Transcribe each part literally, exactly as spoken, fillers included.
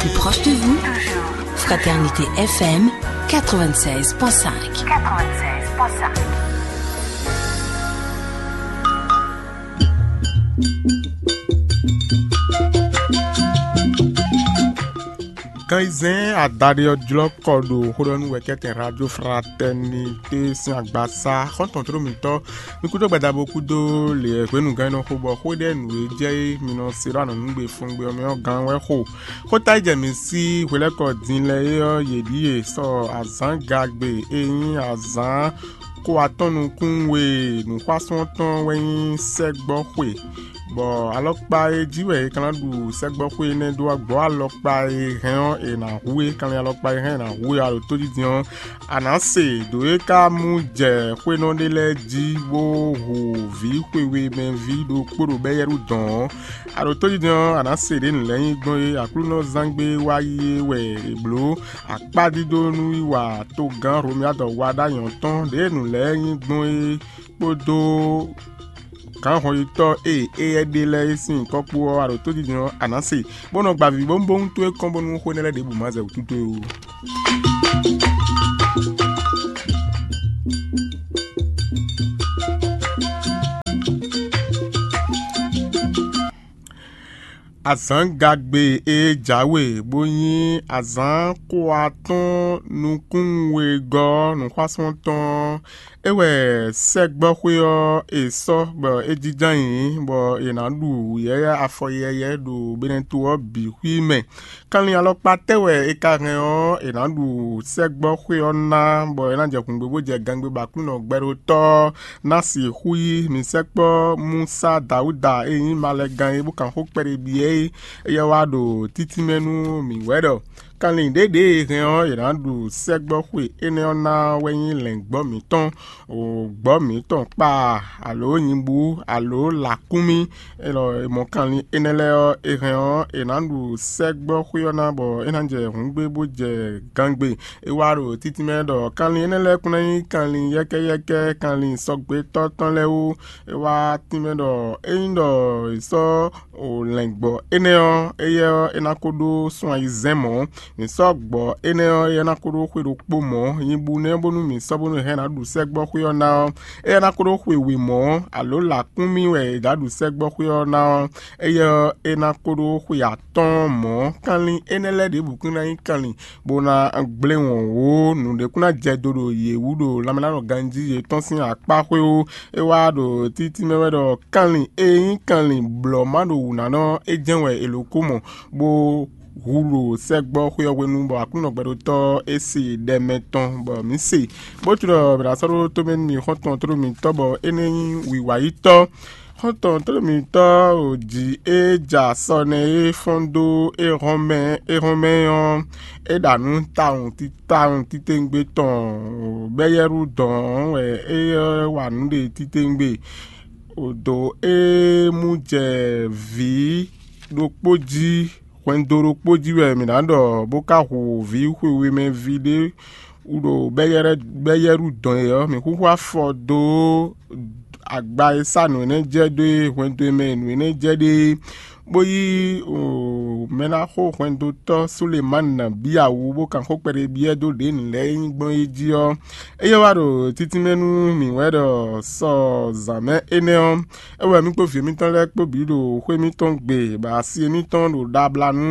Plus proche de vous, Fraternité F M quatre-vingt-seize point cinq. Gan ayizɛ́n adaɖé ɔ́ jlɔ́ kɔ ɖo xó ɖɔ nú wɛkɛ́tɛn Radio Fraternité sín agbasá xɔ́ntɔn tló mǐtɔn. Mi kúdó gbadabo kúdó lě hwenu gán nɔ xo bɔ xó ɖɛ nǔ e jɛ é mi nɔ se ɖó anɔ̌nugbe fúngbe ɔ́ mɛ ɔ́ gán wɛ xo. Xóta e jɛ mi sí hwelɛ́kɔ din lɛ́ɛ é ɔ́, yě ɖíe sɔ azǎn gagbe e nyí azǎn ko atɔ́ nukún we nǔxwásún tɔn wɛ nyí sɛ́gbɔ́ xwe, bɔ alɔkpa e jí wɛ è ka ná ɖu sɛ́gbɔ́ xwe énɛ́ dó ɔ́, gbɔ̌ alɔkpa e hɛn ɔ́, è nǎ hu é. Kanlin alɔkpa e hɛn è nǎ hu é, a ɖo tójijɛ ɔ́, a nǎ se ɖǒ e ka mú jɛ xwénɔ ɖé lɛ́ɛ jí bó hu vǐ xwewemɛví ɖokpó ɖo Bɛ́yɛ́lu dɔ̌n ɔ́, a ɖo tójijɛ ɔ́, a nǎ se ɖě nǔ lɛ́ɛ nyí gbɔn é. Aklúnɔzángbe wá yi é wɛ è blǒ akpádídó nú wiwa togán Hlomyadɔ wa ɖ'ayǐ ɔ́ tɔn ɖěe nǔ lɛ́ɛ nyí gbɔn é kpódó gǎnhɔnyitɔ́ e éyɛ́ ɖe lɛ́ɛ é sín nyǐkɔ kpó ɔ́, a ɖo tójijɛ ɔ́, a nǎ se, bó nɔ gba vǐ bónúbónú towe kɔn bónú xó énɛ́ lɛ́ɛ ɖěbǔ ma zɛ wǔ towe ó. Azǎngagbe e jǎwe bó nyí azǎn ko atɔ́ɔ́n nukún wegɔ́ nǔxwásún tɔn ɔ́, é wɛ sɛ́gbɔ́xwé ɔ́ è sɔ́ bɔ é jínjɔ́n ayǐ, bɔ è nǎ ɖu yɛ̌yɛ́ afɔ yɛ́yɛ́ ɖo Benɛto ɔ́ bǐ xwí mɛ. Kanlin alɔkpa tɛ́ wɛ è ka hɛn ɔ́, è nǎ ɖu sɛ́gbɔ́xwé ɔ́ ná, bɔ é ná jɛ hǔngbé bó jɛ gangbé bɔ Aklúnɔ gbɛɖótɔ́ ɔ́ ná sixú yí mǐ sɛkpɔ́ Musa Dawúda e nyí malɛgán é bó kan xó kpɛɖé byɔ́ é, éyɛ́ wá ɖo títínmɛ nú mǐ wɛ ɖɔ kanlin ɖěɖě e hɛn ɔ́, è nǎ ɖu sɛ́gbɔ́xwe énɛ́ ɔ́ ná wɛ nyí lɛ̌ngbɔ́ mǐtɔn, gbɔ̌ mǐtɔn kpa, alo nyibú, alo lǎkúnmí. Élɔ́ e mɔ kanlin énɛ́ lɛ́ɛ ɔ́, è hɛn ɔ́, è nǎ ɖu sɛ́gbɔ́xwé ɔ́ ná, bɔ é ná jɛ hǔngbé bó jɛ gangbe. É wá ɖo títínmɛ ɖɔ kanlin énɛ́ lɛ́ɛ kún ná nyí kanlin yɛ́kɛ́yɛ́kɛ́, kanlin sɔgbétɔ́ tɔn lɛ́ɛ wú. É wá tínmɛ ɖɔ ényí ɖɔ è sɔ́ lɛ̌ngbɔ́ énɛ́ ɔ́, éyɛ́ ɔ́, é ná ko ɖó sun ayizɛ́n mɔ̌. Mǐ sɔ́ gbɔ̌ énɛ́ ɔ́, éyɛ́ ná ko ɖó xwe ɖokpó mɔ̌. Nyibú nɛ́ bónú mǐ sɔ́ bónú hɛn ná ɖu sɛ́gbɔ́xwé ɔ́ ná ɔ́, éyɛ́ ná ko ɖó xwe we mɔ̌, alo lǎkúnmí wɛ è dǎ ɖu sɛ́gbɔ́xwé ɔ́ ná ɔ́, éyɛ́ ɔ́, é ná ko ɖó xwe atɔ́ɔ́n mɔ̌. Kanlin énɛ́ lɛ́ɛ ɖěbǔ kún ná nyí kanlin, bó ná gblé wɔ̌n wǒ, nǔɖé kún ná jɛ do ɖo yě wú ɖo lanmɛláɖɔ ganjí yětɔn sín akpá xwé ó. É wá ɖo títínmɛ wɛ ɖɔ kanlin e nyí kanlin blɔ̌ má ɖo wǔ ná nɔ é jɛ́n wɛ è lǒ kó mɔ, bó hu ɖo sɛ́gbɔ́ xwé ɔ́ hwenu, bɔ Aklúnɔ gbɛɖótɔ́ ɔ́ é se ɖɛ mɛ tɔn, bɔ mǐ se, bó tunwun ɖɔ mǐ ná sɔ́ ɖó tómɛ nú mì xɔ́ntɔn tlóló mǐtɔn, bɔ énɛ́ nyí wiwa yítɔ́. Xɔ́ntɔn tlóló mǐtɔn o jǐ e ja sɔ nɛ́ e fɔ́n dó éhɔ́nmɛ éhɔ́nmɛ ɔ́, é ɖa nǔ tawun titawun titewungbe tɔn bɛ́yɛ́ɖú dɔn wɛ é wa nǔ ɖe titewungbe. Dǒ e mú jɛ vǐ ɖokpó jí, hwɛndo ɖokpó jí wɛ mǐ ná ɖɔ, bó ka hu vǐ xwewemɛví ɖé wú ɖo bɛ́yɛ́ɖú dɔn é ɔ́, mǐ xúxú afɔ dó agba e sá nǔ énɛ́ jɛ dó e hwɛndo e mɛ nǔ énɛ́ jɛ ɖe é, bó yí mɛ ná xo hwɛndotɔ́ Sulemani ná bíya wú, bó kan xó kpɛɖé byɔ́ dó ɖě nǔ lɛ́ɛ nyí gbɔn é jí ɔ́, é yɛ wá ɖo títínmɛ nú mǐ wɛ ɖɔ sɔ zǎn mɛ énɛ́ ɔ́, é wɛ mì kpó vǐ mitɔn lɛ́ɛ kpó bǐ ɖo xwé mitɔn gbe, bɔ asi émítɔn ɖo ɖabla nú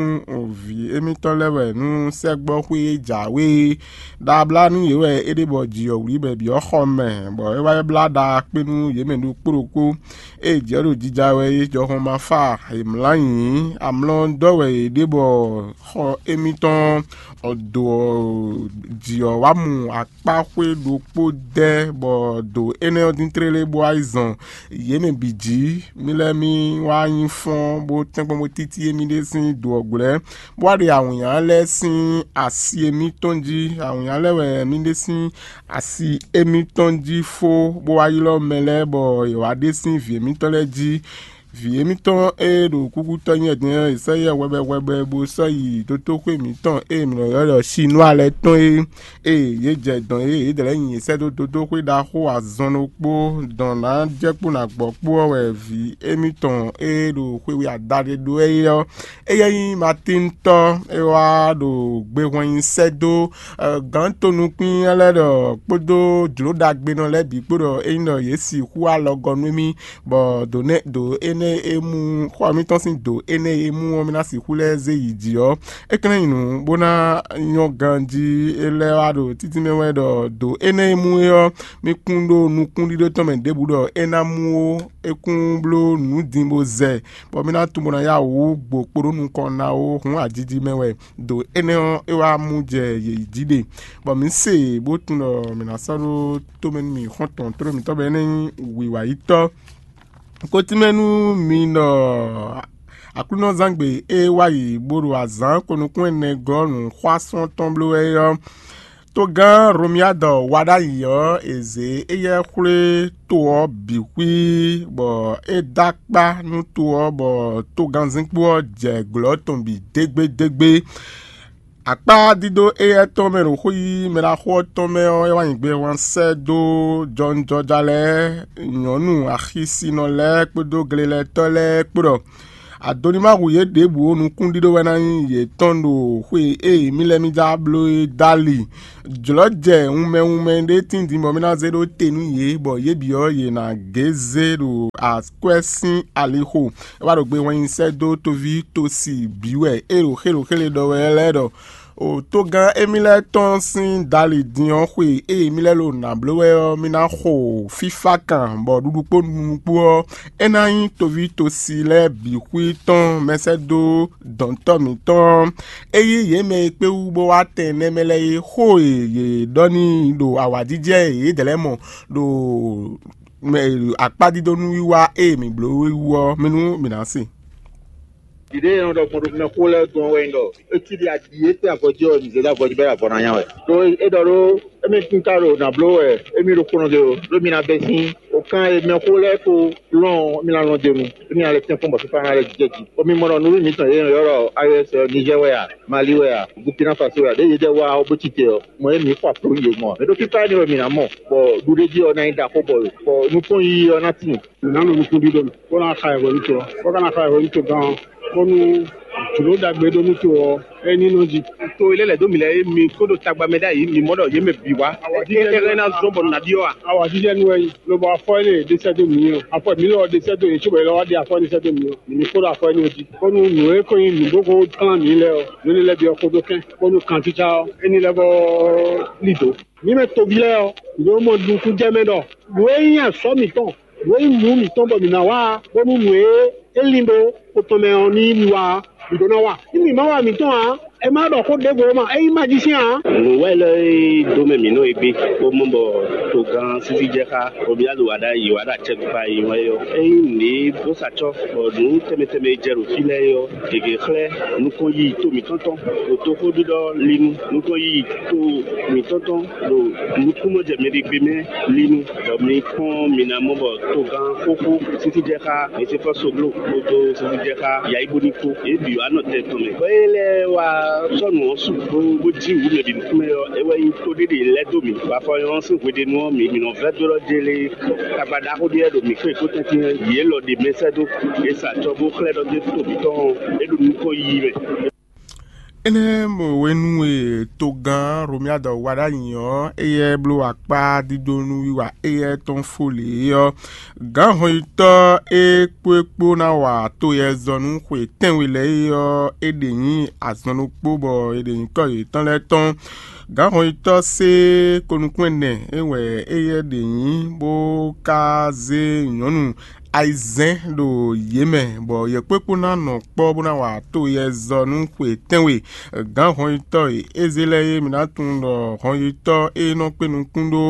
vǐ émítɔn lɛ́ɛ wɛ nú sɛ́gbɔ́ xwé e jǎwe é. Ɖabla nú yě wɛ é ɖe bɔ jǐ ɔ́ wlí bɔ è byɔ́ xɔ mɛ, bɔ é wá yi blá ɖa kpé nú yě mɛ ɖokpó ɖokpó. Ée jǐ ɔ́ ɖo jija wɛ é, jɔhɔn ma fa è mlǎ nyǐ, amlɔ dɔ́ wɛ è ɖe bɔ xɔ émítɔn ɔ́ do ɔ́, jǐ ɔ́ wá mu akpá xwé ɖokpó dɛ́, bɔ do énɛ́ ɔ́ dín tlélé bó wá yi zɔn yě mɛ bǐ jí. Mì lɛ́ɛ mì wá nyí fɔ́n bó tɛ́nkpɔ́n bó títí émí ɖé sín do ɔ́ glɛ́, bó wá ɖe awǐnnya lɛ́ɛ sín asi émítɔn jí. Awǐnnya lɛ́ɛ wɛ mì ɖe sín asi émítɔn jí fó, bó wá ylɔ́ mɛ lɛ́ɛ bɔ yě wá ɖe sín vǐ émítɔn lɛ́ɛ jí. Vǐ émítɔn e ɖo kúkútɔ́ nyí wɛ din ɔ́, è sɔ́ yɛ hwɛbɛ hwɛbɛ bó sɔ́ yi dotóxwé mǐtɔn e mǐ nɔ ylɔ́ ɖɔ Sinwá lɛ́ɛ tɔn é. Ée yě jɛ dɔ̌n e yědɛɛ lɛ́ɛ nyi yě sɛ́ dó dotóxwé ɖaxó azɔn ɖokpó dɔn ná jɛ kpó ná gbɔ kpó ɔ́ wɛ vǐ émítɔn e ɖo xwe we adaɖé ɖó wɛ é ɔ́, éyɛ́ nyí Matíntɔ́, é wá ɖo gbehwɛn nyi sɛ́ dó gǎn tonukún lɛ́ɛ ɖɔ kpódó jlǒ ɖagbenɔ lɛ́ɛ bǐ kpó ɖɔ ényí ɖɔ yě sixú alɔgɔ́ nú émí, bɔ ɖo nɛ́ ɖo énɛ́ e mú xɔ mǐtɔn sín dǒ énɛ́ e mú ɔ́, mì ná sixú lɛ́ zé yi jǐ ɔ́, é ka ná nyí nǔ bó ná nyɔ́ ganjí. É lɛ́ wá ɖo títí mɛ wɛ ɖɔ dǒ énɛ́ e mú é ɔ́, mì kún ɖó nukúnɖíɖó tɔn mɛ ɖěbǔ ɖɔ é ná mú ó, é kún bló nǔ din bó zɛ, bɔ mì ná tunwun bó ná yá wǔ gbo kpo ɖó nukɔn ná ó, hǔn ajiji mɛ wɛ ɖo énɛ́ ɔ́, é wá mú jɛ yě jí ɖe, bɔ mǐ se bó tunwun ɖɔ mǐ ná sɔ́ ɖó tomɛ nú mì xɔ́ntɔn tlóló mǐtɔn bɔ é ná nyí wǐwayítɔ́. Kotínmɛ nú mi ɖɔ Aklúnɔzángbe e wá yi bó ɖo azǎn ko nukún ɛnɛ gɔ́ nǔxwásún tɔn bló wɛ é ɔ́, togán Romiadɔ wa ɖ'ayǐ ɔ́, è zě éyɛ́ xwlé to ɔ́ bǐ xwí, bɔ é dó akpá nú to ɔ́, bɔ togánzínkpo ɔ́ jɛ glɔ̌ tɔn bǐ dégbédégbé. Akpá dídó éyɛ́ tɔn mɛ ɖo xó yí mɛɖaxó ɔ́ tɔn mɛ ɔ́, é wá nyi gbehwan sɛ́ dó jɔwunjɔja lɛ́ɛ, nyɔ̌nu axisinɔ lɛ́ɛ kpódó glelɛtɔ́ lɛ́ɛ kpó ɖɔ Adonimahu yě ɖěbǔ ó, nukúnɖíɖó wɛ ná nyí yětɔn ɖo xwe e mì lɛ́ mì já bló é dó ali. Jlɔ̌ jɛ wunmɛ wunmɛ ɖé tíndín bɔ mì ná zé ɖó te nú yě, bɔ yě bǐ ɔ́, yě ná gě zé ɖo akwɛ́ sín alixo. É wá ɖo gbe wɛn nyi sɛ́ dó toví tosi bǐ wɛ é ɖo xélǒxélé ɖɔ wɛ lɛ́ɛ ɖɔ: O togán émí lɛ́ɛ tɔn sín dali din ɔ́ xwe e mì lɛ́ ɖo nǎ bló wɛ ɔ́, mì ná xo fífá kan, bɔ ɖuɖu kpó nunu kpó ɔ́, é ná nyí toví tosi lɛ́ɛ bǐ xwí tɔn mɛsɛ́dó dɔ̌ntɔ́ mǐtɔn. É yí yě mɛ e kpé wú bó wá tɛn nɛ́ mɛ lɛ́ɛ é xó e yě ɖɔ n'i ɖo awǎjijɛ e yě dlɛ̌ mɔ ɖo akpádídónú wiwa e mǐ bló wú ɔ́ mɛ nú mǐ ná se. Ɖiɖe e nɔ ɖɔ gbɔn ɖo mɛxó lɛ́ɛ dɔn wɛ nyí ɖɔ é cí ɖi aɖi e tɛ́ avɔ jí ɔ́, mǐ zé dó avɔ jí bɔ é ɖo avɔ ná nya wɛ. Ɖó é ɖɔ ɖó émí kún ka ɖo nǎ bló wɛ émí ɖokpónɔ ɖé ó, ɖó mi ná bɛ́ sín. O kan e mɛxó lɛ́ɛ ko lɔn ɔ́, mi ná lɔn d'é nu, émí ná lɛ́ tɛ́nkpɔ́n bɔ fífá ná lɛ́ jɛ jí. Bɔ mi mɔ ɖɔ nǔɖuɖu mǐtɔn e è nɔ ylɔ́ ɖɔ A E S ɔ́, Niger wɛ a, Mali wɛ a, Burkina Faso wɛ a, ɖěe yědɛɛ wá ɔ́ bó cí te ɔ́, mɔ e mǐ xɔ aplú yě mɔ ǎ. Mɛ ɖó fífá énɛ́ wɛ mǐ ná mɔ, bɔ ɖuɖéjí ɔ́ ná nyí ɖaxó bɔ, bɔ nukɔn yiyi ɔ́ ná tíin. Mǐ ná nɔ nukúnɖíɖó mɛ, bó ná xa yi hwenu to ɔ́, bó ka ná xa yi hwenu to gán ɔ́, bónú jlǒ ɖagbe ɖó nú to ɔ́, é ní nɔ jí. To e lɛ́ lɛ̌ dó mǐ lɛ́ɛ é, mi kó ɖo tagba mɛ ɖ'ayǐ, mǐ mɔ ɖɔ yě mɛ bǐ wá. Awǎjijɛ é hɛn ná zɔ́n bɔ nǔ ná byɔ́ a? Awǎjijɛ nú wɛ nyí, lobo afɔ énɛ́ e ɖe sɛ́ dó mǐ ɔ́, afɔ mǐ lɔ ɔ́ ɖe sɛ́ dó yě cóbɔ yě lɔ wá ɖe afɔ énɛ́ sɛ́ dó mǐ ɔ́, mǐ ní kó ɖo afɔ énɛ́ ɔ́ jí, bónú nǔ e ko nyí nǔ bó ko kplán mǐ lɛ́ɛ ɔ́, nǔ énɛ́ lɛ́ɛ bǐ ɔ́ kpódó kɛ́n, bónú kantítsá ɔ́, é ní lɛ́ vɔ lí dǒ. Mǐ mɛ toví lɛ́ɛ ɔ́, mǐ ɖo mɔ nukúnjɛ mɛ ɖɔ nǔ e nyí azɔ̌ mǐtɔn, nǔ e nyí nǔ mǐtɔn bɔ mǐ ná wa, bónú nǔ e é lin ɖó xo tɔn mɛ ɔ́ ní yí mi wa, mǐ ɖó ná wa. Nú mǐ ma wa mǐtɔn ǎ, è ma ɖɔ xó ɖěvo ó ma, é nyí majísɛ́n ǎ. Nǔ wɛ lɛ́ɛ e dó mɛ mǐ nɔ é gbé, bó mɔ bɔ togán sísí jɛ xá, bɔ mǐ ɖo wa ɖ'ayǐ wa ɖo acɛkpikpa e nyí wɛ é ɔ́. Ényí nǔɖé bó sa acɔ́, bɔ nǔ tɛnmɛ tɛnmɛ e jɛ ɖo fí lɛ́ɛ é ɔ́, gěgé xlɛ́ nukɔn yiyi to mǐtɔn tɔn, ɖo toxóɖiɖɔ linu nukɔn yiyi to mǐtɔn tɔn ɖo nukúnnú jɛ mɛ ɖé gbe mɛ linu, bɔ mi kpɔ́n mi ná mɔ bɔ togán xóxó sísí jɛ xá Mɛsɛkɔ́ Sogló kpódó sísí jɛ xá Yayíbóní kpó. Yě bǐ wá nɔ tɛn tɔn mɛ. Bɔ é lɛ́ɛ wá sɔ́ nǔ ɔ́ su bó bó jí wǔ mɛ bǐ nukún mɛ ɔ́, é wɛ nyí tó ɖé ɖě lɛ́ dó mǐ. Bɔ afɔ nyɔ́ sín hweɖénu ɔ́, mǐ mǐ nɔ vɛ́ dó ɖɔ jélé tagba ɖaxó ɖé wɛ ɖo mǐ xwé kó tɛ́ntin yě lɔ ɖe mɛ sɛ́ dó. Yě sa acɔ́ bó xlɛ́ ɖɔ jé to mǐtɔn ɔ́, é ɖo nukɔn yiyi mɛ. Énɛ́ mɔ hwenu e togán Romiadɔ wa ɖ'ayǐ ɔ́, éyɛ́ bló akpá dídó nú wiwa éyɛ́ tɔn fó lě ɔ́, gǎn hɔnyitɔ́ e kpó é kpó ná wa to yɛzɔ́ nú xwe tɛ́nwe lɛ́ɛ é ɔ́, é ɖe nyí azɔn ɖokpó bɔ è ɖe nyǐkɔ yětɔn lɛ́ɛ tɔn. Gǎn hɔnyitɔ́ sé ko nukún ɛnɛ é wɛ éyɛ́ ɖe nyǐ, bó ka zé nyɔ̌nu ayizɛ́n ɖo yě mɛ, bɔ yě kpékpó ná nɔ kpɔ́ bó ná wa to yɛzɔ́ nú xwe tɛ́nwe. Gǎn hɔnyitɔ́ e é zé lɛ́ɛ é, mǐ ná tunwun ɖɔ hɔnyitɔ́ e nɔ kpé nukún ɖó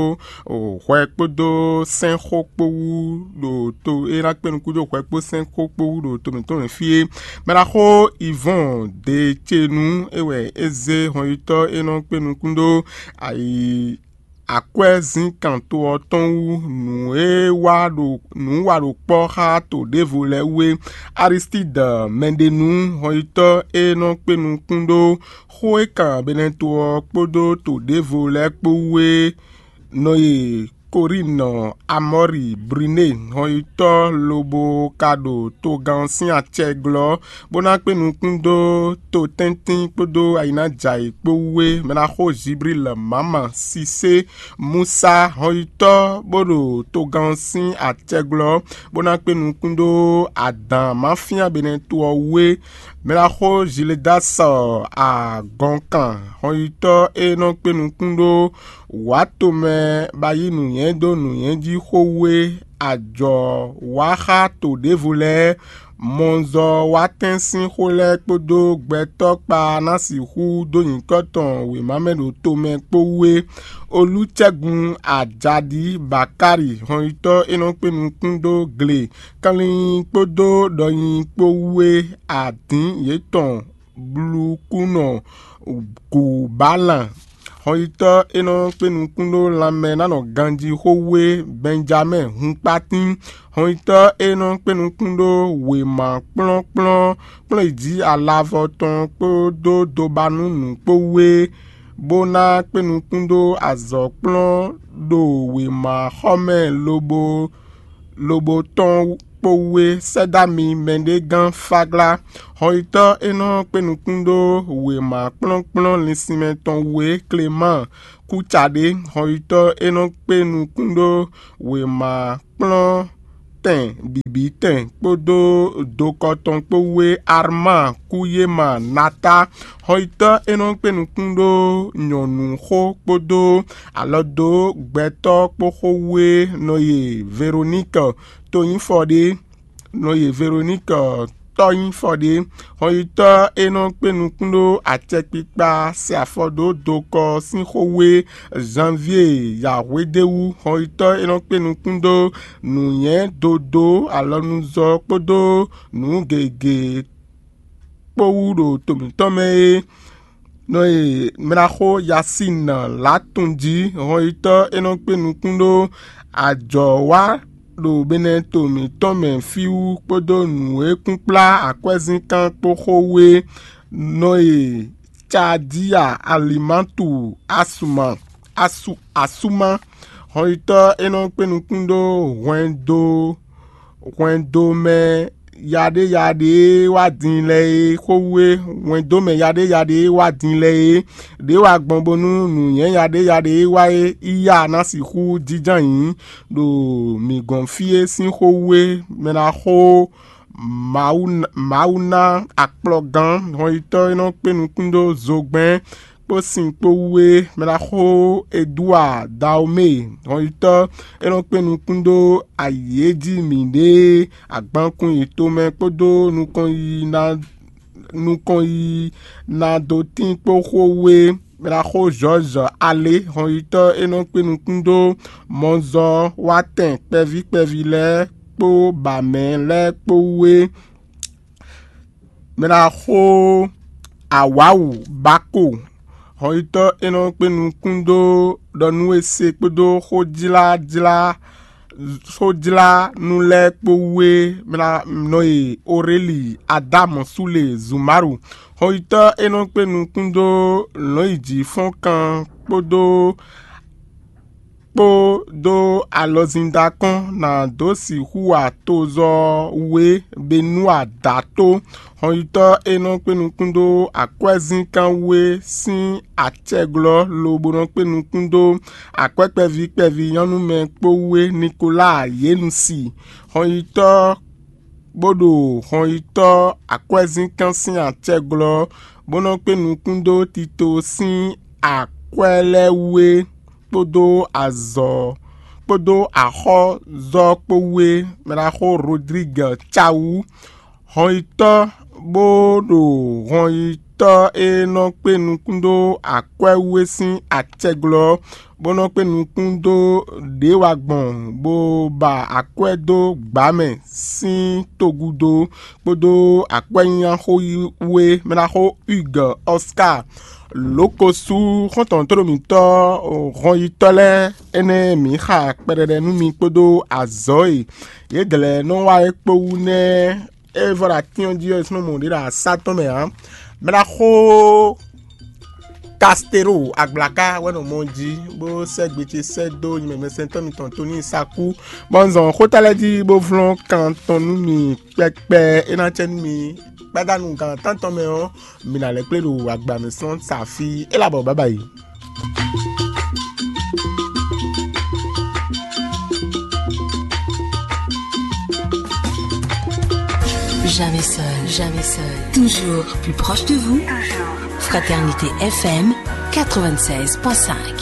hwɛ kpódó sɛ́nxɔ kpó wú ɖo to e ná kpé nukún ɖó hwɛ kpó sɛ́nxɔ kpó wú ɖo to mǐtɔn mɛ fí é. Mɛɖaxó Ivɔ́n Decenu é wɛ é zé hɔnyitɔ́ e nɔ kpé nukún ɖó ayi akwɛ́zínkan to ɔ́ tɔn wú nǔ e wa ɖo nǔ wa ɖo kpɔ́ xá to ɖěvo lɛ́ɛ wú é. Aristídɔ mɛɖenu hɔnyitɔ́ e nɔ kpé nukún ɖó xó e kan Benɛto ɔ́ kpódó to ɖěvo lɛ́ɛ kpó wú é nɔ e Koríinɔ Amɔ́ri Briné hɔnyitɔ́ lobo ka ɖo togán ɔ́ sín acɛ glɔ́, bó ná kpé nukún dó to tɛ́ntin kpódó ayǐnájǎyi kpó wú é. Mɛ ná xo Ziblíl Mama Sisé Musa hɔnyitɔ́ bó ɖo togán ɔ́ sín acɛ glɔ́, bó ná kpé nukún dó adǎn máfíán Benɛto ɔ́ wú é. Mɛ ná xo Ziledásɔ agɔnkan hɔnyitɔ́ e nɔ kpé nukún ɖó wǎ tomɛ ba yí nǔnywɛ́ dó nǔnywɛ́ jí xó wú é, ajɔ wá xá to ɖěvo lɛ́ɛ, mɔzɔ wá tɛ́n sín xó lɛ́ɛ kpódó gbɛtɔ́ kpa ná sixú dó nyǐkɔ tɔn wěma mɛ ɖo tomɛ kpó wú é. Olúcɛ́gun Ajaɖi Bakári hɔnyitɔ́ e nɔ kpé nukún dó gle kanlin kpódó ɖɔnyi kpó wú é, adǐn yětɔn blukúnɔ Gǔbalan. Hɔnyitɔ́ e nɔ kpé nukún ɖó lanmɛ ná nɔ ganjí xó wú é, Bɛnjamɛ́ɛ Hunkpatín. Hɔnyitɔ́ e nɔ kpé nukún ɖó wěma kplɔ́nkplɔ́n kplɔ́n yi jí alavɔ tɔn kpódó dobanúnǔ kpó wú é, bó ná kpé nukún ɖó azɔ̌ kplɔ́n ɖo wěmaxɔmɛ lobo lobo tɔn kpó wú é. Sɛ́ dó ami mɛɖé gán Fáglá. Hɔnyitɔ́ e nɔ kpé nukún ɖó wěma kplɔ́nkplɔ́n linsinmɛ tɔn wú é, Klemáan Kúcaɖé. Hɔnyitɔ́ e nɔ kpé nukún ɖó wěma kplɔ́n tɛn bǐbítɛn kpódó dokɔ tɔn kpó wú é, Armáa Kúyéma Natá. Hɔnyitɔ́ e nɔ kpé nukún ɖó nyɔ̌nu xó kpódó alɔ dó gbɛtɔ́ kpó xó wú é nɔ ye Veroníkɛ Tonyífɔɖé, nɔ ye Veroníkɛ Tɔ́nyífɔɖé. Hɔnyitɔ́ e nɔ kpé nukún ɖó acɛkpikpa se afɔ dó dokɔ sín xó wú é, Zanvíe Yǎhwédéwú. Hɔnyitɔ́ e nɔ kpé nukún ɖó nǔnywɛ́ dodó alɔnuzɔ́ kpódó nǔ gěgé kpó wú ɖo to mǐtɔn mɛ é, nɔ e mlaxó Yasín Latun jí. Hɔnyitɔ́ e nɔ kpé nukún ɖó ajɔ̌ wa ɖo Benɛto mǐtɔn mɛ fí wú kpódó nǔ e kún kplá akwɛ́zínkán kpó xó wú é, nɔ e Cadíya Alimatu Asuma Asu Asuma. Hɔnyitɔ́ e nɔ kpé nukún ɖó hwɛndo hwɛndo mɛ yaɖéyaɖé e wá din lɛ́ɛ é xó wú é, hwɛndo mɛ yaɖéyaɖé e wá din lɛ́ɛ é, ɖě wá gbɔn bónú nǔnywɛ́ yaɖéyaɖé e wá é yi ya ná sixú jínjɔ́n ayǐ ɖo mǐ gɔ́n fí é sín xó wú é. Mɛ ná xó Mawu ná akplɔgán hɔnyitɔ́ e nɔ kpé nukún ɖó zogbɛ́n kpó sin kpó wú é, mɛ ná xó Eduwa Daomée hɔnyitɔ́ e nɔ kpé nukún ɖó ayǐ e jí mǐɖée agbankun yi tomɛ kpódó nukɔn yi ná nukɔn yi ná dó tín kpó xó wú é, mɛ ná xó Zɔ́ɔzɔ Alé hɔnyitɔ́ e nɔ kpé nukún ɖó mɔzɔ́ wá tɛn kpɛví kpɛví lɛ́ɛ kpó bǎmɛ lɛ́ɛ kpó wú é. Mɛ ná xó Awǎwu Bako hɔnyitɔ́ e nɔ kpé nukún ɖó ɖɔ nú e se kpódó xójlájlá xójlánú lɛ́ɛ kpó wú é, mɛ ná nɔ e Oréli Adámu Súle Zumaru hɔnyitɔ́ e nɔ kpé nukún ɖó lɔ̌nyijǐfɔ́nkan kpódó kpó dó alɔzíndakɔ́n ná dó sixú wa tozɔ́ we Benúa dǎ tó. Hɔnyitɔ́ e nɔ kpé nukún dó akwɛ́zínkán we sín acɛglɔ́ lobo nɔ kpé nukún dó akwɛ́ kpɛví kpɛví nyɔ́númɛ kpó we Nikolaa Yenusi. Hɔnyitɔ́ bó ɖo hɔnyitɔ́ akwɛ́zínkán sín acɛglɔ́, bó nɔ kpé nukún dó Tito sín akwɛ́ lɛ́ɛ wú é, kpódó azɔ̌ kpódó axɔ́zɔ́ kpó wú é, mɛ ná xó Rodrigue Cawu, hɔnyitɔ́ bó ɖo hɔnyitɔ́ tɔ́ e nɔ kpé nukún dó akwɛ́ wú é sín acɛglɔ́, bó nɔ kpé nukún dó ɖě wa gbɔn, bó ba akwɛ́ dó gbǎ mɛ sín togúdo, kpódó akwɛ́nyínyáxó wú é mɛ ná xó Hugues Oscar Lǒkosú, xɔ́ntɔn tóɖomǐtɔ́ hɔnyitɔ́ lɛ́ɛ énɛ́ mǐ xa kpɛɖɛɖɛ nú mi kpódó azɔ̌ e yědɛɛ lɛ́ɛ nɔ wa é kpó wú nɛ́. É vɔ ɖo atín ɔ́ jí ɔ́, è sɔ́ nɔ mɔ ɖě ɖo asá tɔn mɛ ǎ. Mɛ ná xó Castero Agblaka wɛ nɔ mɔ jí, bó sɛ́ gbe ce sɛ́ dó nyimɛmɛsɛntɔ́ mitɔn Tony Saku, bɔ un zɔn xóta lɛ́ɛ jí bó vlɔ́n kan tɔn nú mi kpɛkpɛ. É ná cɛ nú mi gbadanu gan tántɔn mɛ ɔ́, mi ná lɛ́ kplé ɖo agba mɛ sɔn sa fí. É labɔ bábáyi. Jamais seul, jamais seul. Toujours plus proche de vous. Fraternité F M quatre-vingt-seize point cinq.